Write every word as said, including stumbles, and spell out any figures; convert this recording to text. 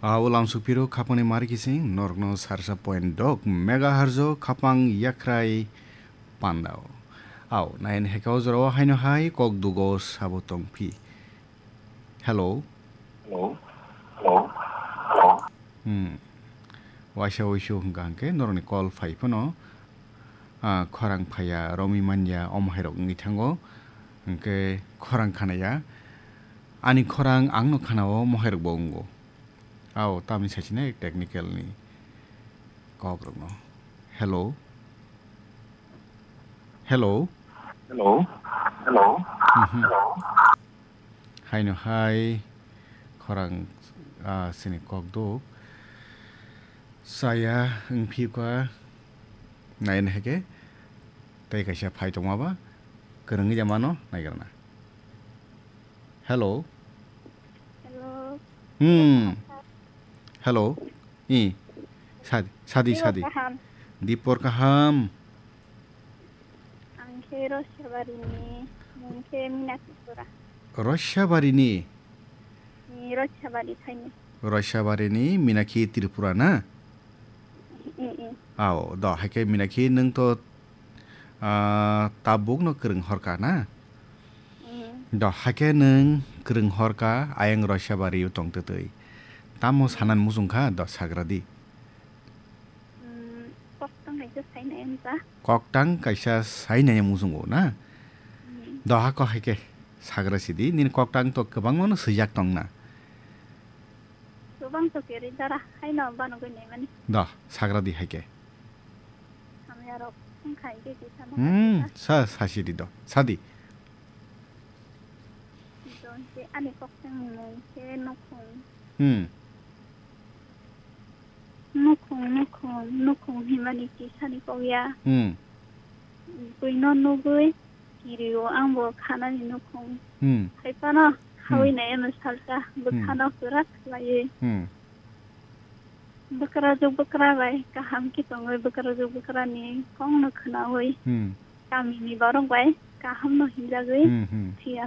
Au lamsuk phiro khapangni mari kising norokno sarsa point dok megahertz o khapang yakrai pandao. Au nain hekao jorao haino hai kok dugo sabo tongphi. Hello. Hello. Hello. Hello. Hmm. Waisa uisu hwnkha hwnkhe norokni call phai phano, ah, khorang phaiya, romwi manya, omo hairok wngwi thango. Hwnkhe khorang khanaya. Ani khorang angno khanao, omo hairokbo wngo. Ao, tamni saichina technical ni kokrokno. Hello? Hello? Hello? Hello? Mhm. Hello? Haino hai khorang, ah, sini kok duk. Saya wngphi kha naina heke tei kaisa phai tongma ba kwrwngwi ya mano naigrana. Hello. Hello. Hmm. Hello. I. Sadi, sadi, Dipor sadi. Kaham. Dipor kaham. Ang khe Rosabari ni, mung khe Minakhi Pura. Rosabari ni? Ni Rosabari thaini. Rosabari ni Minakhi Tripura na? I, i. Ao, do, hai khe Minakhi nwng to, ah, tabuk no kwrwng horka na? Mm. Do, hai khe nwng kwrwng horka ayang Rosabari o tong twtwi. Tamo sanan muchung kha, do, sagra di. Mm, koktang kaisa sainai wngkha. Koktang kaisa sainai muchungo na? Mm. Do, hako hai khe sagra sidi, nini koktang to kwbangma no swijak tong na? Kwbang to kwrwi dara, haino banogwi naimani. Do, sagra di hai khe. Hamya rok wngkha hwnkhe kisa no Hmm, kaisa. Sa, sa sidi do. Sadi. Hwnkhe ani koktang ni mung khe nukhung. Hmm. Nukhung, nukhung, nukhung hinmani kisani kok ya. Hmm. Buino nugwi kirio, angbo khanani nukhung. Hmm. Haiphano Hmm. hawi nai ano salsa, Hmm. bwkhano kwrak khlaiwi. Hmm. Bwkrajwk bwkra bai kaham khe tongwi, bwkrajwk bwkrani kokno khwnawi. Hmm. Kamini borok bai kaham no hinjagwi Hmm, hmm. phiya